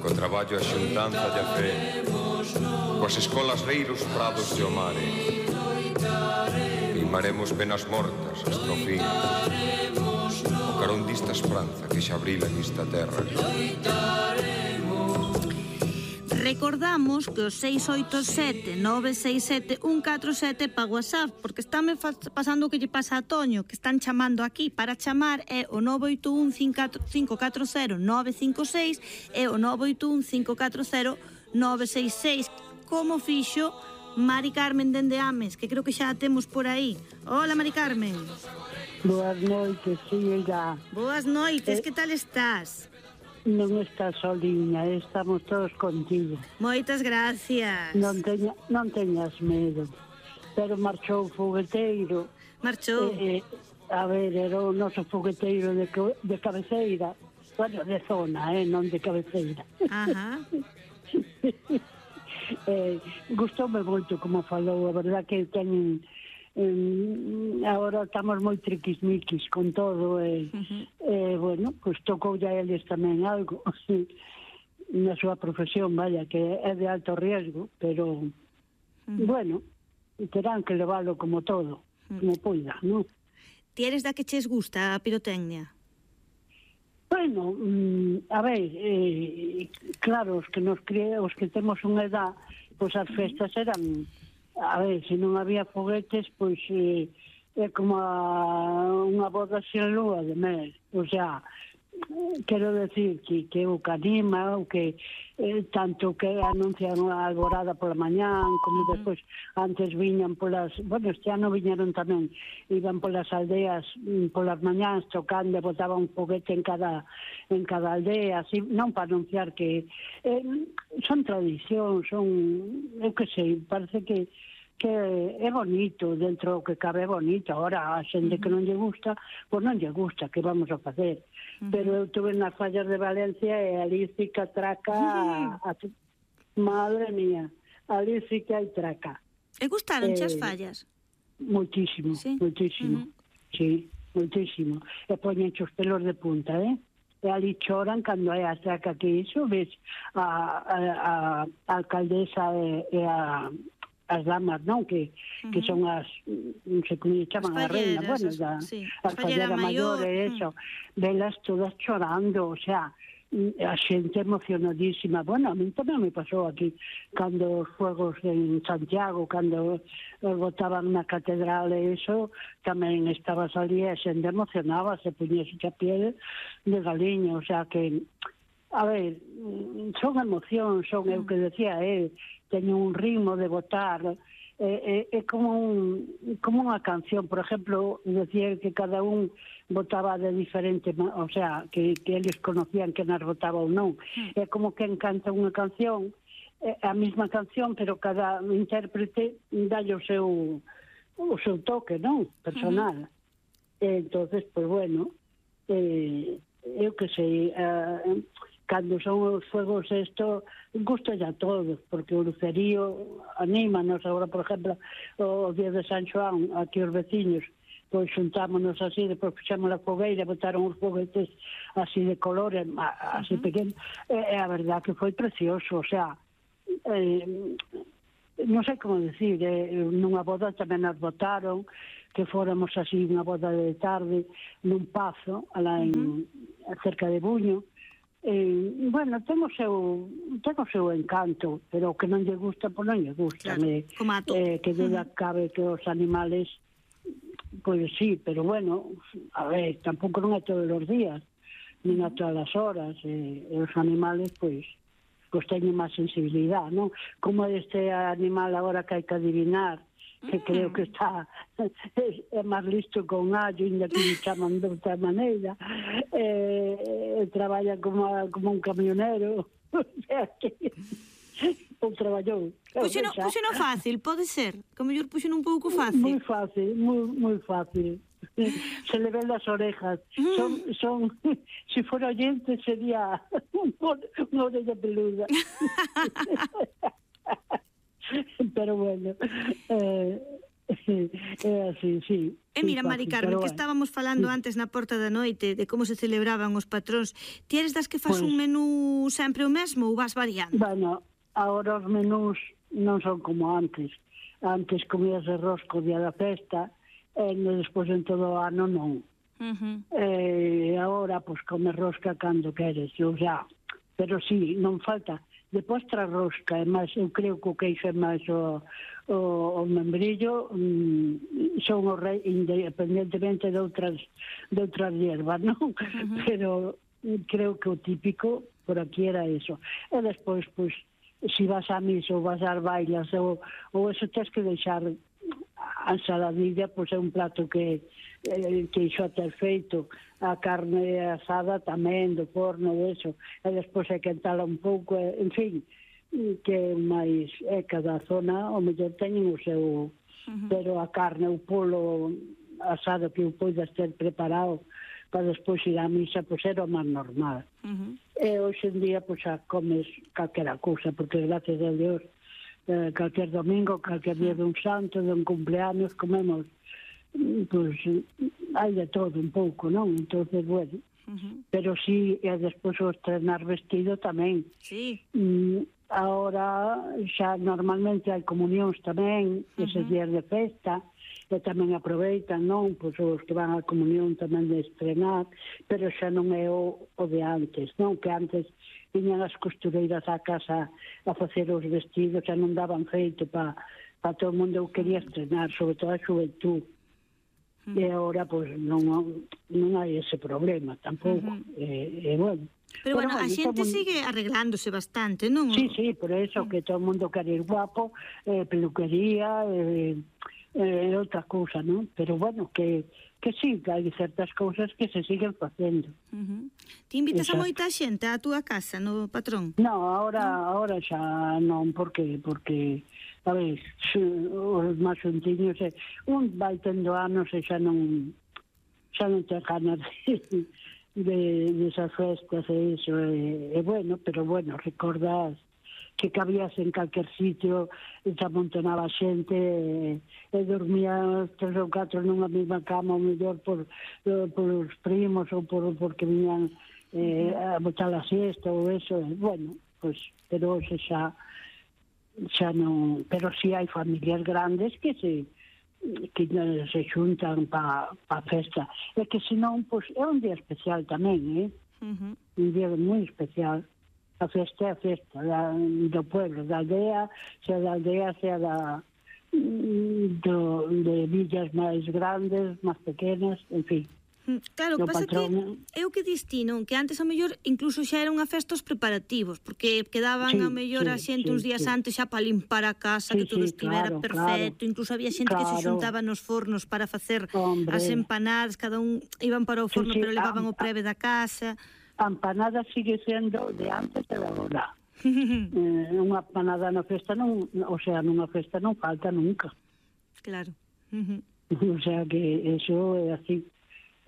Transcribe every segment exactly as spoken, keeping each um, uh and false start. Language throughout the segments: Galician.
co traballo a xuntanza e a fe, coas escolas reiros prados de o mare, limaremos penas mortas hasta o fin, o carón dista esperanza que xa abrila nesta terra. Recordamos que o seis oito sete nove seis sete un catro sete pa WhatsApp, porque estame pasando o que lle pasa a Toño, que están chamando aquí. Para chamar é o nove oito un cinco catro cero nove cinco seis e o nove oito un cinco catro cero nove seis seis, como fixo Mari Carmen dende Ames, que creo que xa a temos por aí. Hola, Mari Carmen. Boas noites, filha. Boas noites, eh... que tal estás? Non estás soliña, estamos todos contigo. Moitas gracias. Non, teña, non teñas medo. Pero marchou o fogueteiro. Marchou? Eh, eh, a ver, era o noso fogueteiro de, de cabeceira. Bueno, de zona, eh, non de cabeceira. Ajá. eh, gustoume moito como falou, a verdad que teñen... Eh, agora estamos moi triquismiquis con todo e, uh-huh. eh, bueno, pois pues, tocou ya eles tamén algo na súa profesión, vaya, que é de alto riesgo, pero uh-huh. bueno, terán que leválo como todo, uh-huh. como poida, non? Ti eres da que ches gusta a pirotecnia? Bueno, mm, a ver, eh, claro, os que nos crie, os que temos unha edad, pois pues as festas eran... A ver, se non había foguetes, pois eh, é como a, unha boda sin lúa de mel. O sea, quero decir que, que o que anima, o que eh, tanto que anuncian a alborada pola mañán, como despois antes viñan polas... Bueno, este ano viñeron tamén, iban polas aldeas polas mañáns tocando e botaban un foguete en cada en cada aldea, así, non para anunciar que... Eh, son tradicións, son... Eu que sei, parece que que é bonito, dentro do que cabe é bonito. Ahora, a xente uh-huh. que non lle gusta, pois non lle gusta, que vamos a facer? Uh-huh. Pero eu tuve nas fallas de Valencia e ali sí que traca... Uh-huh. A, a, madre mía, ali sí que hai traca. E gustaron eh, as fallas? Moitísimo, ¿sí? moitísimo. Uh-huh. Sí, moitísimo. E poñen os pelos de punta, eh? E ali choran cando hai a traca que iso, ves a, a, a, a alcaldesa e, e a... as damas, non? Que, uh-huh. que son as, non sei como chaman, a reina, bueno, da, sí. a fallera maior e eso, uh-huh. velas todas chorando, o sea, a xente emocionadísima. Bueno, a mí tamén me pasou aquí, cando os fuegos en Santiago, cando os botaban na catedral e eso, tamén estabas ali e a xente emocionaba, se puñese a piel de galiño, o sea que... A ver, son emocións, son, eu que decía, eh, teño un ritmo de votar, é eh, eh, como un, como unha canción, por exemplo, decía que cada un votaba de diferente, o sea, que, que eles conocían que nas votaba ou non. É como que encanta unha canción, eh, a mesma canción, pero cada intérprete dalle o seu, o seu toque, non? Personal. Uh-huh. E entonces, pues bueno, eh, eu que sei... Uh, cando son os fuegos isto, gusta ya todos, porque o lucerío anímanos. Agora, por exemplo, o día de San Xoán, aquí os veciños, pois xuntámonos así, depois puxamos a fogueira, botaron os foguetes así de colores, así uh-huh. pequenos, e, e a verdad que foi precioso, o sea, eh, non sei como decir, eh, nunha boda tamén nos botaron, que fóramos así unha boda de tarde, nun pazo, alá en, uh-huh. cerca de Buño. Eh, bueno, ten o seu ten o seu encanto, pero o que non lle gusta, pois non lle gusta. Claro, me, eh, que duda uh-huh. cabe que os animales, pois sí, pero bueno, a ver, tampouco non é todos os días, nin a todas as horas, e eh, os animales, pois, pois teñen máis sensibilidade, non? Como este animal agora que hai que adivinar, que mm. creo que está é, é máis listo con allo, ainda que me chaman de outra maneira, eh, traballa como, como un camionero, o sea que ou traballou. Puxeno, puxeno fácil, pode ser, que mellor puxeno un pouco fácil. Moi fácil, moi, moi fácil. Se le ven las orejas. Mm. Son, son, si fuera oyente sería una orella peluda. Pero bueno, eh, É así, sí. E mira, Mari Carmen, que estábamos falando antes na porta da noite de como se celebraban os patróns, ti eres das que faz un menú sempre o mesmo ou vas variando? Bueno, agora os menús non son como antes. Antes comías arroz co día da festa, e despois en todo o ano non. E agora, pois, comes rosca cando queres, ou xa. Pero sí, non falta. De postra rosca, é máis, eu creo que o queixo é máis o, o, o membrillo, mm, son o rei, independentemente de outras, de outras hierbas, non? Uh-huh. Pero creo que o típico por aquí era eso. E despois, pois, si vas a misa ou vas ás bailas, ou, ou eso tens que deixar a ensaladilla, pois é un plato que eh, que iso a ter feito, a carne asada tamén do forno e eso, e despois é quentala un pouco, e, en fin, que máis é cada zona, o mellor teñen o seu, uh-huh. pero a carne, o polo asado que o poidas ter preparado para despois ir á misa, pois era o máis normal. Uh-huh. E hoxe en día, pois, xa comes calquera cousa, porque gracias a Dios, eh, calquer domingo, calquer día dun santo, dun cumpleaños, comemos, pois, hai de todo un pouco, non? Entonces, bueno, uh-huh. pero sí, e despois o estrenar vestido tamén. Sí. Mm, ahora, xa normalmente hai comunións tamén, uh-huh. eses días de festa, e tamén aproveitan, non? Pois os que van á comunión tamén de estrenar, pero xa non é o, o de antes, non? Que antes viñan as costureiras á casa a facer os vestidos, xa non daban feito para pa todo o mundo que quería estrenar, sobre todo a xuventud. Uh-huh. E agora, pois, non, non hai ese problema tampouco. Uh-huh. E, e, bueno... Pero, bueno, bueno, a xente mundo... sigue arreglándose bastante, non? Sí, sí, por eso, uh-huh. que todo o mundo quere ir guapo, eh, peluquería, eh, eh, outra cousa, non? Pero, bueno, que, que sí, que hai certas cousas que se siguen facendo. Uh-huh. Ti invitas Exacto. a moita xente á túa casa, no patrón? No, ahora, ¿no? ahora xa non, porque... porque a ver, os máis xuntiños, eh, un vai tendo anos e xa non xa non ten ganas de, de, de esas festas e iso, e, e bueno, pero bueno, recordas que cabías en calquer sitio, e se amontonaba xente, e, e dormía tres ou catro nunha mesma cama, ou mellor por, por os primos, ou por, porque viñan eh, a botar a siesta, ou eso, e, bueno, pues, pero hoxe xa xa non, pero si hai familias grandes que se que se xuntan pa, pa festa, e que senón, pois, é un día especial tamén, eh? Uh-huh. Un día moi especial. A festa é a festa da, do pueblo, da aldea, sea da aldea, sea da do, de villas máis grandes, máis pequenas, en fin. Claro, o pasa patrón... que é o que distino, que antes a mellor incluso xa era unha festa os preparativos, porque quedaban sí, a mellor sí, a xente sí, uns días sí. antes xa para limpar a casa, sí, que todo sí, estivera claro, perfecto, claro, incluso había xente claro. que se xuntaba nos fornos para facer Hombre. as empanadas, cada un iban para o forno, sí, sí, pero levaban a, o preve da casa. A empanada sigue sendo de antes e de agora. eh, unha empanada na festa non, o sea, nunha festa non falta nunca. Claro. Uh-huh. O sea que eso é así.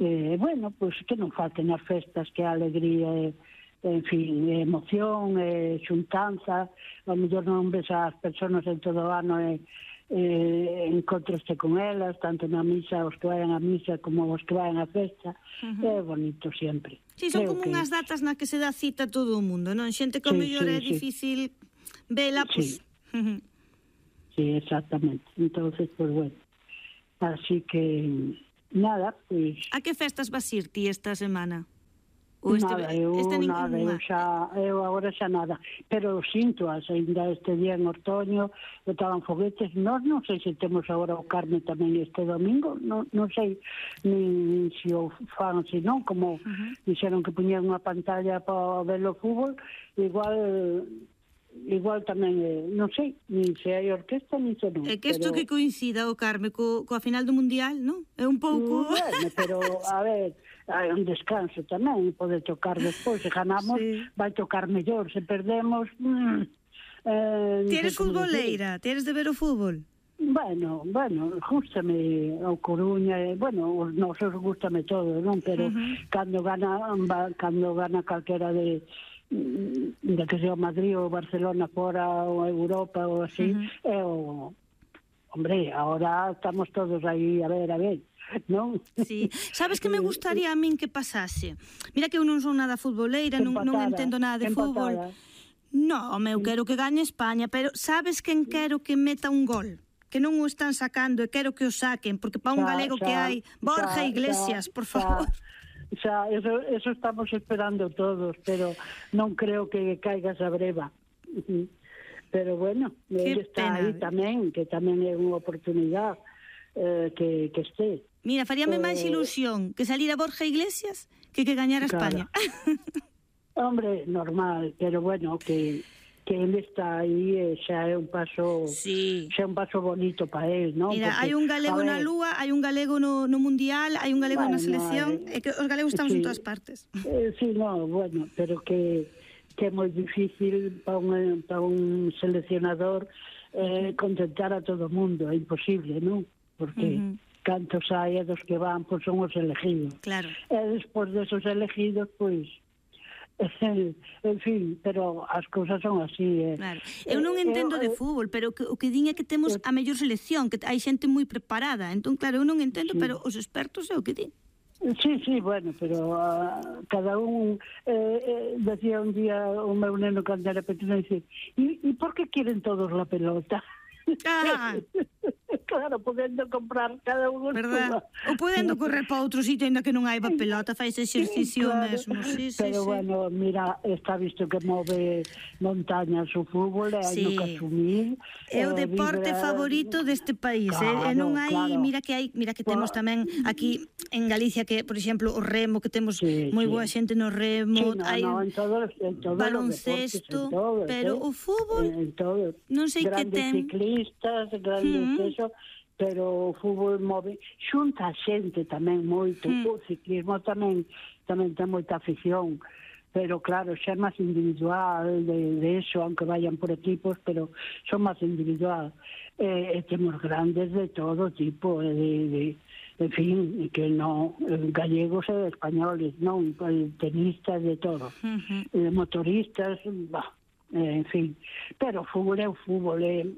Eh, bueno, pois pues, que non falten as festas, que a alegría é, en fin, é emoción, é xuntanza, a mellor non ves as persoas en todo o ano e eh, encontroste con elas, tanto na misa, os que vayan a misa como os que vayan a festa, uh-huh. é bonito sempre. Sí, son Creo como que... unhas datas na que se dá cita a todo o mundo, non? Xente que sí, mellor sí, é sí. difícil vela, pois... Sí. Uh-huh. sí, exactamente. Entonces, pues bueno, así que... Nada, pois... A que festas vas ir ti esta semana? O este, nada, eu, este nada, eu, xa, eu agora xa nada. Pero sinto, ainda este día en Ortoño, estaban foguetes. Nós non sei se temos agora o Carme tamén este domingo, non, non sei nin se o fan, se non, como uh-huh. dixeron que puñeron unha pantalla para ver o fútbol, igual... igual tamén, eh, non sei, nin se hai orquesta, nin se non. É que isto pero... que coincida o Carme co, coa final do Mundial, non? É un pouco... Bueno, pero, a ver, hai un descanso tamén, pode tocar despois, se ganamos, sí. vai tocar mellor, se perdemos... Mm, eh, Ti eres futboleira, ti eres de ver o fútbol? Bueno, bueno, gústame o Coruña, eh, bueno, os nosos gústame todo, non? Pero uh-huh. cando gana cando gana calquera de de que sea Madrid ou Barcelona fora ou Europa ou así, uh-huh. é o hombre, ahora estamos todos aí, a ver, a ver, non? Sí. Sabes que me gustaría a min que pasase? Mira que eu non son nada futboleira, non, non entendo nada de fútbol. No, eu quero que gañe España, pero sabes quen quero que meta un gol? Que non o están sacando e quero que o saquen, porque para un galego que hai, Borja Iglesias, por favor. Xa, eso, eso estamos esperando todos, pero non creo que caiga esa breva. Pero bueno, ele está aí tamén, que tamén é unha oportunidade eh, que, que esté. Mira, faríame eh, máis ilusión que salira Borja Iglesias que que gañara España. Claro. Hombre, normal, pero bueno, que... que ele está aí e xa é un paso sí. xa é un paso bonito para él, non? Mira, hai un galego na Lúa, hai un galego no, no Mundial, hai un galego bueno, na selección, eh, e que os galegos estamos sí. en todas partes. Eh, sí, no, bueno, pero que que é moi difícil para un, para un seleccionador eh, contentar a todo o mundo, é imposible, non? Porque uh -huh. cantos hai dos que van, pois son os elegidos. Claro. E despois desos elegidos, pois en fin, pero as cousas son así. Eh. Claro. Eu non entendo de fútbol, pero que, o que din é que temos a mellor selección, que hai xente moi preparada. Entón, claro, eu non entendo, sí. pero os expertos é o que din. Sí, sí, bueno, pero uh, cada un eh, eh, decía un día o meu neno cando era pequeno, dice, e por que quieren todos la pelota? Ah. Claro, podendo comprar cada un verdad? Ou podendo correr para outro sitio ainda que non hai pelota, faz exercicio claro. mesmo. Sí, sí, pero sí. bueno, mira, está visto que move montañas o fútbol, hai sí. no que asumir. É o eh, deporte vibra... favorito deste país, claro, eh? E non hai, claro. mira que hai, mira que temos tamén aquí en Galicia que, por exemplo, o remo, que temos sí, moi sí. boa xente no remo, sí, no, hai no, en todo, en todo baloncesto, deportes, todo, pero eh? o fútbol en, en todo. non sei que ten. Ciclistas, grandes mm. eso, pero o fútbol move, xunta a xente tamén moito, mm. o ciclismo tamén tamén ten moita afición, pero claro, xa é máis individual de, de eso, aunque vayan por equipos, pero son máis individual. E, e temos grandes de todo tipo, de, de, en fin, que non, gallegos e españoles, non, tenistas de todo, mm-hmm. eh, motoristas, bah, en fin, pero o fútbol é o fútbol, é,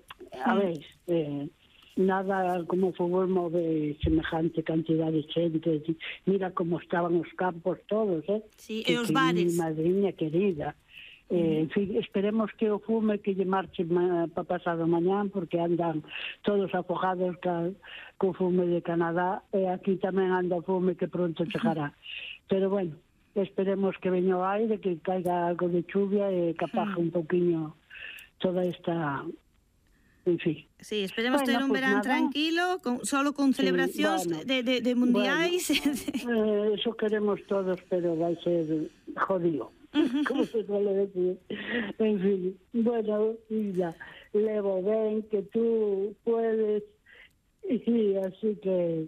a ver, eh, nada como o fútbol move semejante cantidad de xente, mira como estaban os campos todos, eh? Sí, e os bares. Madriña querida. Eh, en fin, esperemos que o fume que lle marche para pasado mañán, porque andan todos afogados ca, co fume de Canadá, e aquí tamén anda o fume que pronto chegará. Pero bueno, esperemos que veña o aire, que caiga algo de chuvia e que apaje un pouquiño toda esta... En fin. Sí, esperemos bueno, ter un pues verán nada. tranquilo, con, solo con celebracións sí, bueno, de, de, de mundiais. Bueno, eh, eso queremos todos, pero vai ser jodido, como se suele decir. En fin, bueno, mira, levo ben que tú puedes, y así que...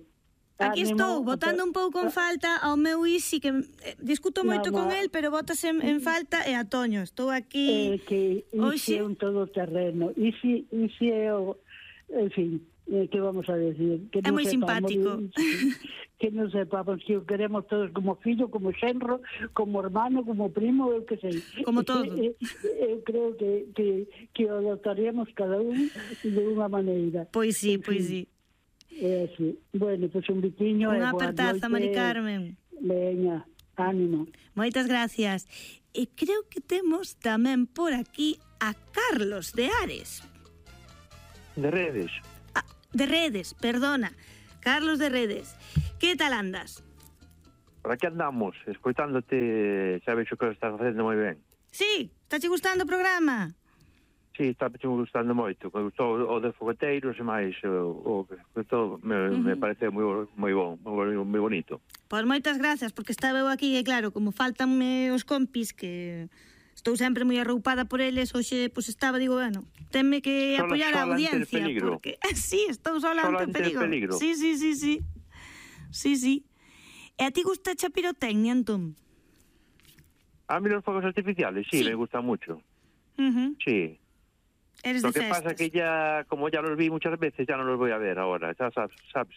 Aquí ánimo, estou, botando un pouco en falta ao meu Isi, que eh, discuto moito no, con el, pero botas en, en falta, e a Toño. Estou aquí... Eh, que Isi é un todoterreno. Isi, Isi é o... En fin, eh, que vamos a decir? Que é moi simpático. Isi, que non sepamos que o queremos todos como fillo, como xenro, como hermano, como primo, eu que sei. Como todo. Eu, eu creo que, que, que o adoptaríamos cada un de unha maneira. Pois sí, pois sí. É así. Bueno, pois pues un biquiño. Unha apertaza, Mari Carmen. Veña, ánimo. Moitas gracias. E creo que temos tamén por aquí a Carlos de Ares. De Redes. Ah, de Redes, perdona. Carlos de Redes. Que tal andas? Por aquí andamos, escoitándote, sabes o que estás facendo moi ben. Sí, está che gustando o programa? Sí, está me gustando moito. Me gustou o de fogueteiros e máis o, o todo me, uh -huh. me parece moi moi bon, moi, moi bonito. Pois moitas gracias, porque estaba eu aquí e claro, como faltanme os compis que estou sempre moi arroupada por eles, hoxe pois estaba, digo, bueno, tenme que sola, apoiar a audiencia porque sí, estou sola ante o peligro. peligro. Sí, sí, sí, sí. Sí, sí. E a ti gusta a pirotecnia, entón? A mí los fuegos artificiales, sí, sí. me gusta mucho. Uh -huh. Sí. Eres Lo de que festas. pasa que ya, como ya los vi muchas veces, ya no los voy a ver ahora, ya sabes. sabes.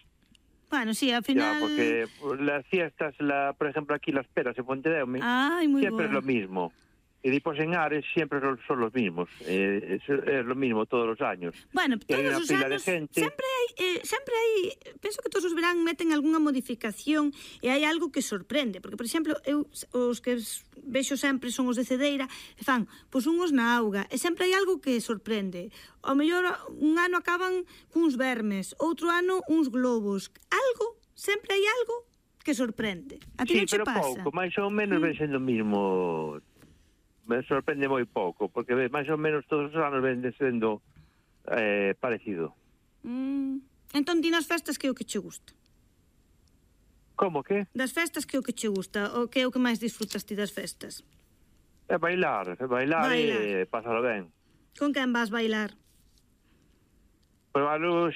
Bueno, sí, al final... Ya, porque las fiestas, la, por ejemplo, aquí las peras en Pontedeume, Ay, muy siempre bueno. es lo mismo. Y después en Ares siempre son, son los mismos, eh, es, es lo mismo todos los años. Bueno, Que todos hai unha os pila anos de gente. sempre hai, eh, sempre hai, penso que todos os verán meten algunha modificación e hai algo que sorprende, porque por exemplo, eu os que vexo sempre son os de Cedeira, e fan, pois unhos na auga, e sempre hai algo que sorprende. Ao mellor un ano acaban cuns vermes, outro ano uns globos. Algo, sempre hai algo que sorprende. A ti Sí, non che pero pasa? pouco, máis ou menos ven sendo o mismo. Me sorprende moi pouco, porque ves, máis ou menos todos os anos ven sendo eh, parecido. Mm. Entón, ti nas festas que é o que che gusta? Como que? Das festas que é o que che gusta? O que é o que máis disfrutas ti das festas? É bailar, é bailar, Bailar. e pasalo ben. Con quen vas bailar? Pero algo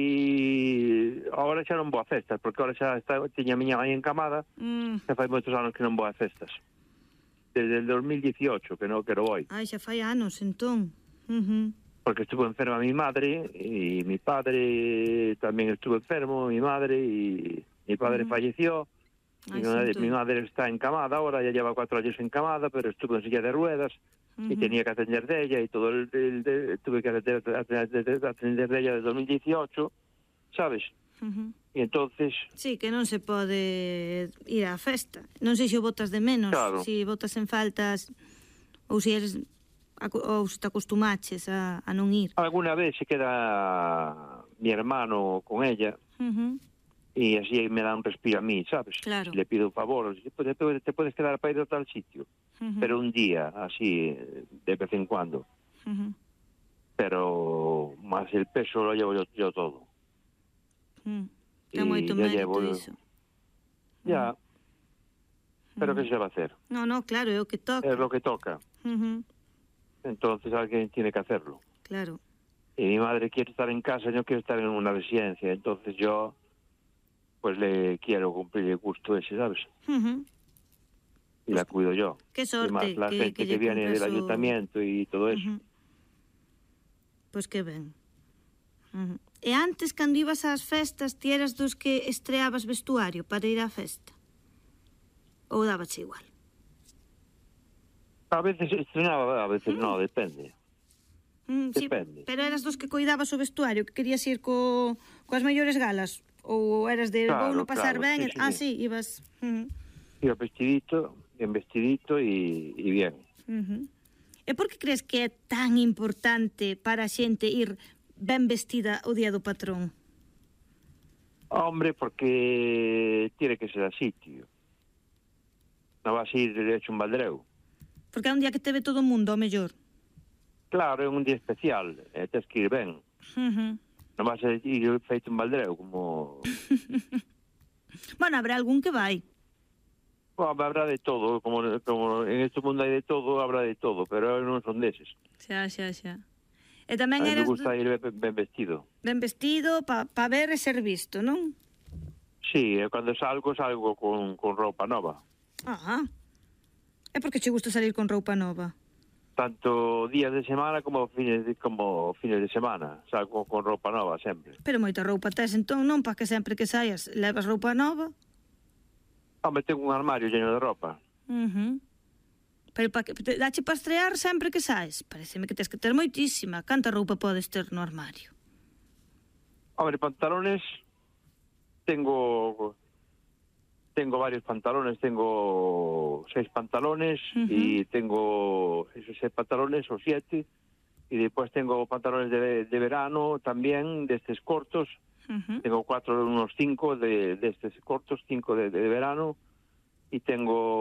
si... Agora xa non vou a festas, porque agora xa está, tiña a miña mãe encamada, Mm. xa fai moitos anos que non vou a festas. Desde el dos mil dieciocho que non que non voy. Ai, xa fai anos, entón. Uh -huh. Porque estuvo enferma mi madre, y mi padre también estuvo enfermo, mi madre, y mi padre Uh-huh. falleció. Ay, Mi madre, siento. mi madre está encamada ahora, ya lleva cuatro años encamada, pero estuvo en silla de ruedas y Ujú. tenía que atender de ella, y todo el, el- el- tuve que atender, atender, atender de ella desde dos mil dieciocho, ¿sabes? Uh -huh. Y entonces, Sí, que non se pode ir á festa. Non sei se o botas de menos, Claro. se botas en faltas ou se eres acu- ou se te acostumaches a, a non ir. alguna vez se queda mi hermano con ella, Uh -huh. y así me da un respiro a mí, ¿sabes? Claro. Le pido un favor, te puedes, te puedes quedar para ir a tal sitio, Uh -huh. pero un día, así, de vez en cuando. Uh -huh. Pero más el peso lo llevo yo, yo todo. Mm. Ten Y moito ya mérito llevo- iso. Ya, pero ¿qué se va a hacer? No, no, claro, é o que toca. Es lo que toca. Uh -huh. Entonces alguien tiene que hacerlo. Claro. Y mi madre quiere estar en casa, yo quiero estar en una residencia. Entonces yo, pues le quiero cumplir el gusto ese, ¿sabes? Uh -huh. Y la cuido yo. Qué Y sorte más la que, gente que que, lle viene cumpres del o- ayuntamiento y todo eso. Uh -huh. Pois que ben. Uh -huh. E antes, cando ibas ás festas, ti eras dos que estreabas vestuario para ir á festa? Ou dábache igual? A veces estrenaba, a veces no, depende. Mm, sí, Depende. pero eras dos que coidabas o vestuario, que querías ir co, coas mellores galas? Ou eras de Claro, vou no pasar claro, ben? sí, e- sí, ah, sí. sí, ibas... Uh -huh. Iba vestidito, bien vestidito y, y bien. Uh -huh. E por que crees que é tan importante para a xente ir ben vestida o día do patrón? Hombre, porque tiene que ser así, tío. No vas a ir hecho un baldreu. Porque é un día que te ve todo o mundo, ao mellor. Claro, é un día especial, eh, tens que ir ben. Uh -huh. Non vas a ir feito un baldreu, como... Bueno, habrá algún que vai. Bueno, habrá de todo, como, como en este mundo hai de todo, habrá de todo, pero eu non son deses. Xa, xa, xa. E A tamén mí me eras gusta do- ir ben, ben vestido. ben vestido para pa ver e ser visto, non? Sí, e cando salgo, salgo con, con roupa nova. Ah. É porque che gusta salir con roupa nova. Tanto días de semana como fines de, como fines de semana. Salgo con roupa nova sempre. Pero moita roupa tes, entón non para que sempre que saias levas roupa nova. Hombre, tengo un armario lleno de ropa. Uh -huh. Pero para que te dache para estrear sempre que saes. Pareceme que tes que ter moitísima. Canta roupa podes ter no armario? Hombre, pantalones, tengo tengo varios pantalones, tengo seis pantalones Ujú. y tengo esos seis pantalones o siete, y después tengo pantalones de, de verano también, de estos cortos, Uh -huh. tengo cuatro, unos cinco de, de estos cortos, cinco de, de verano, y tengo